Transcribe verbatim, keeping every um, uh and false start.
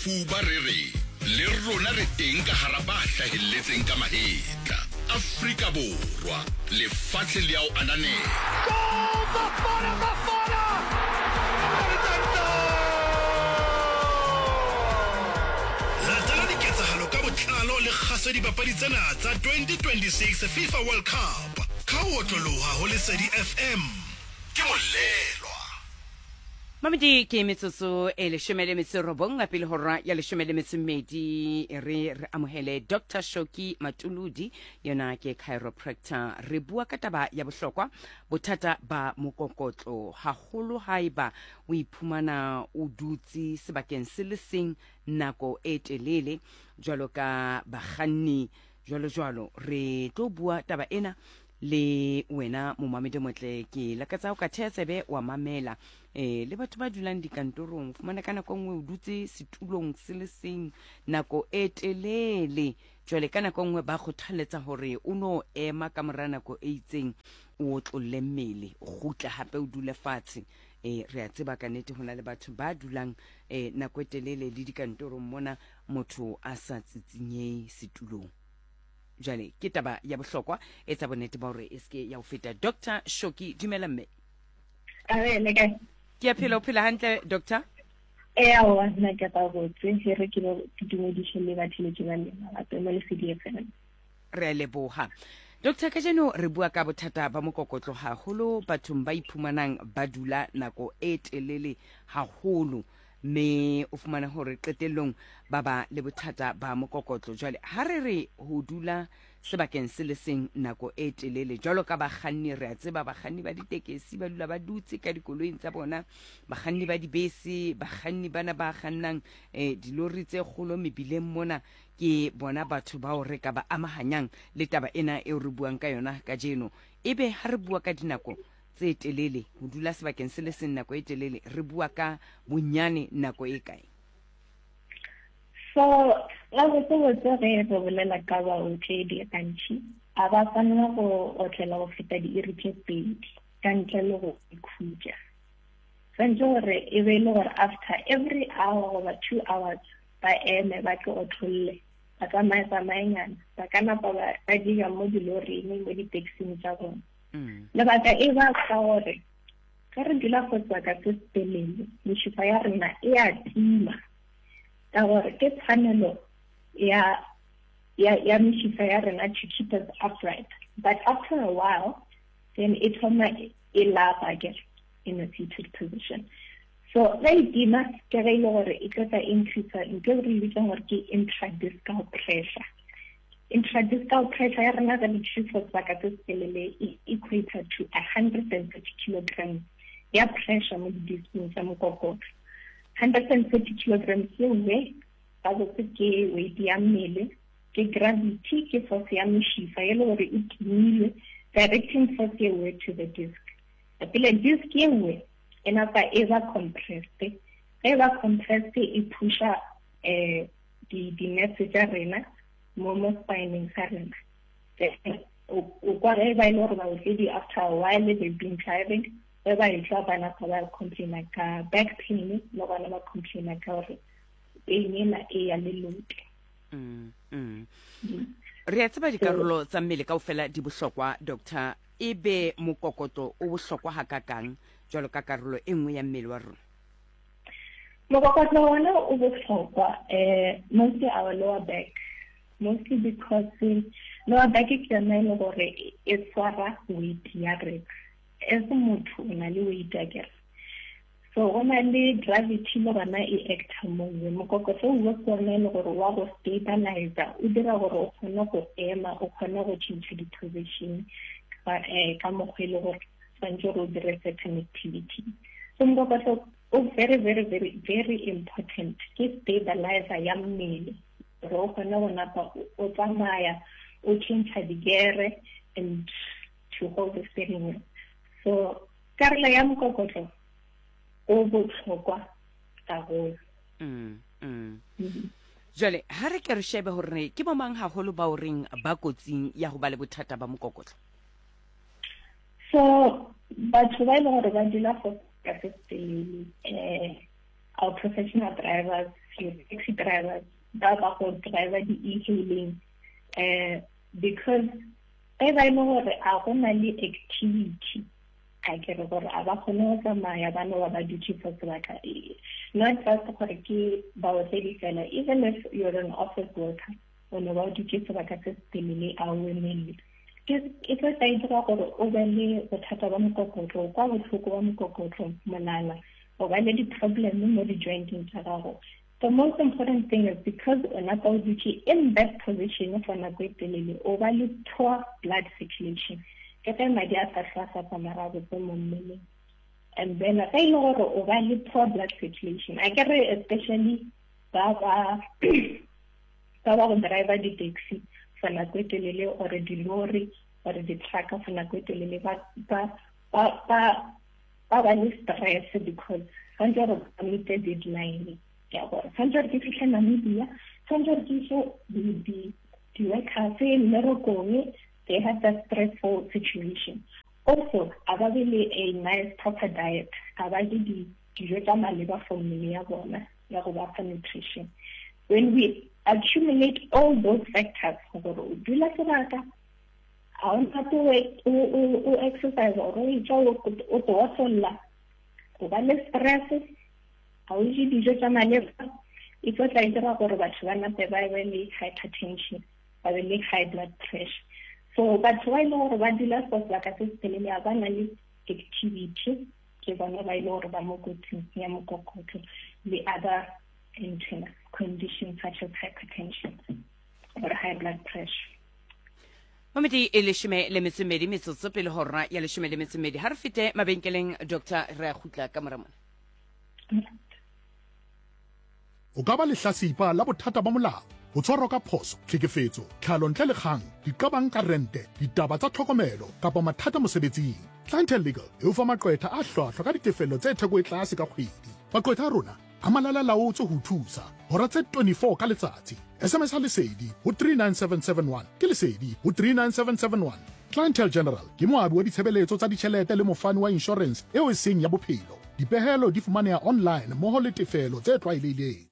Sefuba re re le rona re teng ka hara ba hlahelletseng ka mahetla. Afrika Borwa, lefatshe le ao ananela. Goal! Bafana Bafana! Latela diketsahalo ka botlalo le kgaso dipapadi tsena tsa twenty twenty-six FIFA World Cup ka ho otloloha ho Lesedi F M. Ke molelwa. Mamedi, ke metsotso e leshome le metso e robong pele hora ya leshome le metso e mmedi. Re re amohele Doctor Shoki Matuludi, yona ke chiropractor. Re bua ka taba ya bohlokwa, bothata ba mokokotlo, haholo haeba o iphumana o dutse sebakeng se le seng nako e telele, jwalo ka bakganni, jwalo jwalo. Re tlo bua taba ena le wena, momamedi motle. Ke lakatsa o ka theha tsebe wa mamela. eh le batho ba dulang dikantorong, fumana ka nako e nngwe o dutse setulong se le seng nako e telele. Jwale ka nako e nngwe ba kgothaletsa hore o no ema ka mora nako e itseng, o otlolle mmele, o kgutle hape o dule fatshe. eh re a tseba ka nnete ho na le batho ba dulang eh nako e telele le dikantorong mona, motho a sa tsitsinye setulong. Jwale ke taba ya bohlokwa, etsa bonnete ba hore e seke ya ho feta. Doctor Shoki, dumela mme. A le kae? Ke a phela. O phela hantle, doctor? Ee, aowa, nna ke gabotse. E re ke ke dumediše le batheletši ba lena gape mo Lesedi F M. Re a leboha, doctor. Kajeno re bua ka bothata ba mokokotlo, haholo bathong ba iphumanang ba dula nako e telele haholo, mme o fumana hore qetellong ba ba le bothata ba mokokotlo. Jwale ha re re ho dula sebakeng se le seng nako e telele, jwalo ka bakganni, re a tseba bakganni ba ditekesi ba dula ba dutse ka dikoloing tsa bona, bakganni ba dibese, bakganni bana ba kgannang um dilori tse kgolo mebileng mona, ke bona batho bao re ka ba amahanyang le taba ena eo re buang ka yona kajeno. Ebe ha re bua ka dinako tse telele, ho dula sebakeng se le seng nako e telele, re bua ka bonyane nako e kae? So gabotsebotse ge re bolela ka baotledi, gantši a ba tshwanela go otlela go feta diiri tše pedi ka ntle le go ikhutša. Tshwanetse gore e be e le gore after every hour goba two hours ba eme, ba ke otlolle, ba tsamaye tsamayenyana, ba ka napa ba dija mo diloring, mo di-taxing tša bona. mm. Lebaka e ba ka gore ge re dula go sebaka se se telele, mešifa ya rena e a tima, ka gore ke tshwanelo ya ya ya mešifa ya rena to keep us upright, but after a while then e thoma e lapa ke in a seated position. So ge e tima, ke ge e le gore e tlo tla increase ntho e re e bitsang gore ke intradiscal pressure. Intradiscal pressure ya rena ge re for sebaka se se telele e equator to a hundred and thirty kilograms ya pressure mo di-disking tsa mokokotlo. Hundred and thirty kilograms yewe gabotse ke weight ya mmele, ke gravity, ke force ya mešifa e le gore e timilwe, directing force yewe to the disc. Pele disc yewe e napa e ba compressed. Ge e ba compressed, e pusha um di-nerves tša rena mo mo spineng sa rena. O kwa ge ba e le gore baotledi, after a while they've been driving, ge ba etla ba napa ba complaina ka back pain, le gona ba complaina ka gore pain ena e ya lelote. mm, mm. re a tseba dikarolo tsa mmele kaofela di bohlokwa, doctor. E be mokokotlo o bohlokwa hakakang jwalo ka karolo e nngwe ya mmele wa rona? Mokokotlo wona o bohlokwa, um mostly our lower back, mostly because lower back ke yona e le gore e tshwara weight ya rena. As motho o na le weight akere, so go na le gravity le gona e acta mongwe. Mokokotlo o ke ona e le gore wa go stabilizer, o dira gore o kgone go ema, o kgone go change di-position ka mokgwa e le gore tshwanetse gore o dire certain activity. So mokokotlo o very, very, very, very important, ke stabilizer ya mmele gore o kgone go napa o tsamaya, o change digere and to hold the steering wheel. So karolo ya mokokotlo o botlhokwa haholo. mm, mm. Jwale ha re ke re shebe hore ke bo mang haholo ba o reng ba kotsing ya ho ba le bothata ba mokokotlo? So batho ba e leng gore ba dula for sebaka se se telele, um our professional drivers, Taxi drivers ba ba go driver di-e-hailing, um because ge ba e le gore a go na le activity, a ke re gore a ba kgone go tsamaya, ba no ba ba dutse for sebaka. Not just gore ke baotledi fela, even if you're an office worker, o no ba o dutse sebaka se se telele, a o emelle, e tlo tla e dira gore o be le bothata ba mokokotlo, kwa botlhoko ba mokokotlo, molala, o ba le di-problem mo di-jointeng tsa gago. The most important thing is because o napa o dutse in that position for nako e telele, o ba le poor blood circulation, ke ge madi a sa hlwa sa tsamaya gabotse mo mmeleng. And then ge e le gore o ba le poor blood circulation, a ke re especially ba ba ba ba go driver di-taxi for nako e telele, or dilori or di-trucker for nako e telele, ba ba ba ba ba ba le stress because tshwanetse gore ba meet deadline ya gore tshwanetse gore ke fitlhe Namibia, tshwanetse gore ke ise di-workers mmerekong. They have that stressful situation. Also, a ba be le a nice proper diet, a ba je dijo tsa maleba for mmele ya bona ya go ba fa nutrition. When we accumulate all those factors, gore o dula sebaka, ga o nape o exercise or o etsa o otlolla, o ba le stress, ga o je dijo tsa maleba, e tlo tla e dira gore batho ba nape ba be le hypertension, ba be le high blood pressure. So batho ba e le gore ba dula for sebaka se se telele, a ba na le activity, ke bona ba e le gore ba mo kotsing ya mokokotlo le other internal conditions such as hypertension or high blood pressure. Mamedi e leshome le metso e mmedi metsotso pele hora ya leshome le metso e mmedi. Ha re fete mabenkeleng, Doctor, re a kgutla ka mora mona. O ka ba lehlasipa la bothata ba molao, ho tshwarwa ka phoso, tlhekefetso, tlhalo ntle le kgang, diqabang ka rente, ditaba tsa tlhokomelo kapa mathata mosebetsing. Clientele Legal e o fa maqwetha a hlwahlwa ka ditefello tse theko e tlase ka kgwedi. Maqwetha a rona a malala laotswe ho thusa hora tse twenty-four ka letsatsi. S M S a Lesedi ho three nine seven seven one, ke Lesedi ho three nine seven seven one. Clientele General ke moabi wa ditshebeletso tsa ditjhelete le mofani wa insurance eo e seng ya bophelo. Dipehelo di fumaneha online mmoho le tefelo tse tlwaelehileng.